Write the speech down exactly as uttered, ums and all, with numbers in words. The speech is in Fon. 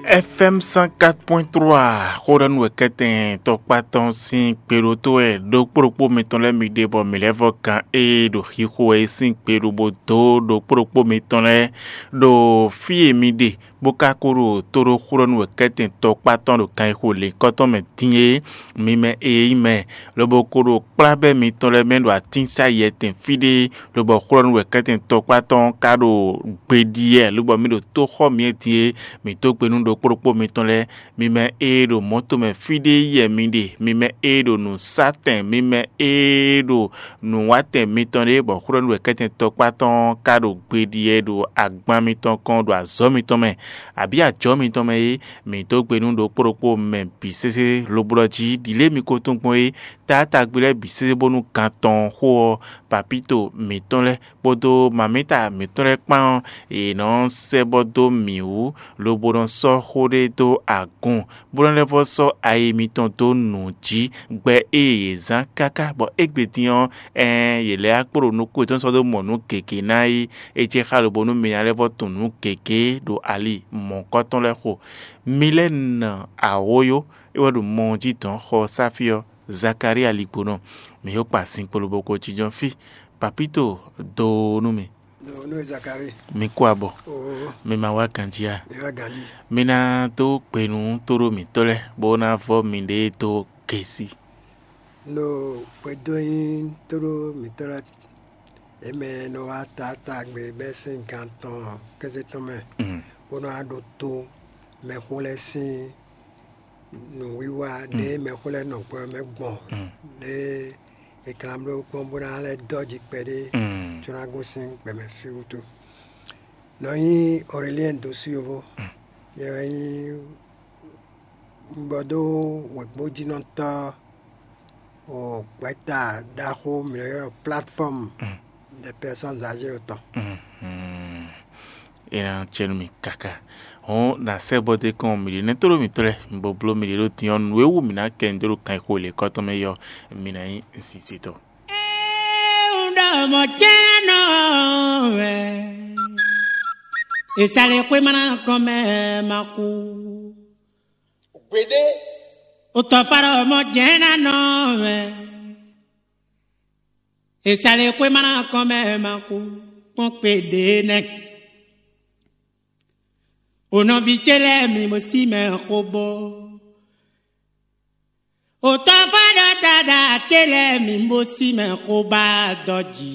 F M cent quatre point trois, xóɖɔnú wɛ kɛ́tɛn tɔkpá tɔn sín kpeɖótó wɛ ɖokpó ɖokpó mitɔn lɛ́ɛ mi ɖe bɔ mǐ lɛ́ vɔ gǎn e ɖo xixo wɛ é sín kpeɖó bó dó ɖokpó ɖokpó mitɔn lɛ́ɛ ɖo fí e mi ɖe, bó ka ko ɖo tó ɖó xóɖɔnú wɛ kɛ́tɛn tɔkpá tɔn ɖo kan e xo lěkɔ́ tɔn mɛ din é, mi mɛ e nyí mɛ, lobo ko ɖo kplá bɛ́ mitɔn lɛ́ɛ mɛ ɖo atínsayɛtɛn fí ɖé, lobɔ xwlɔ́nú wɛ kɛ́tɛn tɔkpá tɔn ka ɖo gbeɖiɛ, lobɔ mì ɖo tó xɔ mì é din é, mǐ dó gbe nú ɖokpó ɖokpó mitɔn lɛ́ɛ. Mi mɛ e ɖo mɔ̌ tomɛ fí ɖé yɛ mi ɖe, mi mɛ e ɖo nǔsátɛn, mi mɛ e ɖo nǔwátɛn mitɔn ɖé, bɔ xwlɔ́nú wɛ kɛ́tɛn tɔkpá tɔn ka ɖo gbeɖiɛ ɖo agban mitɔn kɔn ɖo azɔ̌ mitɔn mɛ, abǐ ajɔ̌ mitɔn mɛ é, mǐ dó gbe nú ɖokpó ɖokpó mɛ bǐ sésé, lobo ɖɔ jí ɖi lě mi ko tunwun gbɔn é, taátagbe lɛ́ɛ bǐ sésé bónú gan tɔn xó ɔ́, papíto mǐtɔn lɛ́ɛ kpódó mamíta mǐtɔn lɛ́ɛ kpán ɔ́, yě nɔ sɛ́ bɔ dó mǐ wú, lobo nɔ sɔ́ xó ɖé dó agun, bó nɔ lɛ́ vɔ́ sɔ́ ayi mitɔn dó nǔ jí, gbɛ e yě zán káká bɔ égbé din ɔ́, ɛɛn, yě lɛ́ wá kpo ɖo nukún yětɔn sɔ́ dó mɔ nǔ gěgé ná yi. É jɛ xá lobo nú mi ná lɛ́ vɔ́ tunwun nǔ gěgé ɖo ali mɔ̌hunkɔtɔn lɛ́ɛ xo. Mi lɛ́ nɔ awǒyó, é wɛ ɖo mɔ ɔ́ jí dɔ̌n xɔ ɔ́ sá fí ɔ́, Zakalíi aligbonɔ. Mi yó kpa sin kpolo bó ko jínjɔ́n fí. Papíto dó nú mi. Nú Zakalíi. Mi kú abɔ. Oo. Mi ma wá ganjí a? Mi wá ganjí. Mi ná dó gbe nú tóɖó mǐtɔn lɛ́ɛ, bó ná vɔ́ miɖée dó gěsí. Nɔ xwedó nyí tóɖó mǐtɔn lɛ́ɛ, yě mɛ e nɔ wá taatagbe bɛ́ sín gan tɔn kéze tɔn mɛ, Mm. bó nɔ wá ɖótó mɛxó lɛ́ɛ sín nǔwiwa ɖě mɛxó lɛ́ɛ nɔ gbɔ ɔ́ mɛ gbɔn, Mm. ɖě è kan bló kpɔ́n bó ná lɛ́ dɔ́ ji kpɛɖé Mm. có ná gosín gbɛmɛ fí wútu. Nɔ nyí Aurélien Dosuyovó, Mm. yɛ wɛ nyí bɔ dó wěgbójínɔtɔ́ o gbɛ̌ta ɖaxó mǐ nɔ ylɔ́ ɖɔ plateforme Mm. des personnes âgées tɔn. Mhm. É ná cɛ nú mi káká. Hɔn na sɛ́ bɔ dé kɔn mǐ ɖě nɛ́ tóɖó mǐtɔn lɛ́ɛ, mi bo bló mǐ ɖě ɖó din ɔ́, nǔ e wú mǐ ná kɛ nyi dó ɖo kan e xo lě kɔ́tɔn mɛ é ɔ́, mi ná nyí sinsitɔ. Ewúɖɔmɔ jɛ́nɔ wɛ. Èsàlẹ̀ xwé má ná kɔn mɛ ma kú. Gbeɖé. Òtɔ̀fàɖɔmɔ jɛ́nánɔ wɛ. Èsàlẹ̀ xwé má ná kɔn mɛ ma kú. Kpɔ́n kpé ɖě nɛ́. Ònɔví ce lɛ́ɛ mi bo sí mɛ xó bó. Òtɔ́fàɖɔ dada ce lɛ́ɛ mi bo sí mɛ xó bá dɔ́ jǐ.